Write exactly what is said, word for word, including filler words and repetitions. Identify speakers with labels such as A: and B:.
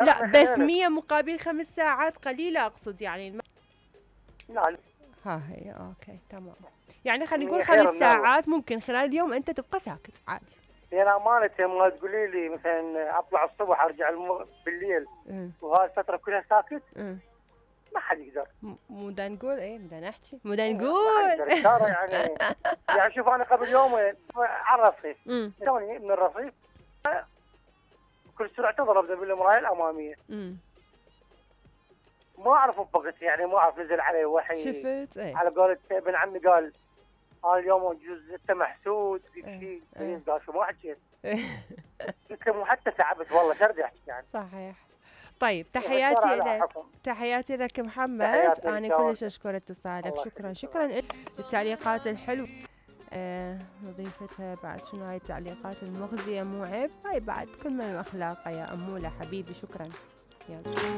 A: لا بس مية مقابل خمس ساعات قليلة أقصد يعني الم...
B: لا
A: ها هي اوكي تمام. يعني خلينا نقول
B: هي خير
A: خمس
B: منه.
A: ساعات ممكن خلال اليوم انت تبقى ساكت عادي.
B: يعني امانه ما تقولي لي مثلا اطلع الصبح ارجع الم... بالليل
A: امم
B: وهاي الفتره كلها ساكت
A: امم
B: ما حد يقدر.
A: م- مو دا نقول ايه مو دا نحكي مو دا
B: ما
A: نقول.
B: حد يقدر ترى يعني. يعني شوف انا قبل يومين على الرصيف
A: امم
B: توني من الرصيف كل سرعه تضرب بالمرايه الاماميه
A: امم
B: ما اعرف بوقت يعني ما اعرف نزل علي وحي.
A: شفت ايه
B: على قولة ابن عمي قال ها اليوم جوز انت محسود في
A: إيه،
B: شيء
A: إيه.
B: قال شو ما حكيت. قلت له مو حتى تعبت والله شو بدي احكي يعني.
A: صحيح. طيب
B: الشرع
A: تحياتي
B: له
A: لك
B: حكم.
A: تحياتي لك محمد.
B: تحياتي
A: انا
B: لك.
A: كلش اشكر اتصالك.
B: الله
A: شكرا
B: يخليك.
A: شكرا لك للتعليقات الحلوه. آه نضيفتها بعد شنو هاي التعليقات المخزيه مو عيب هاي بعد كل من اخلاقه يا اموله حبيبي شكرا. يلا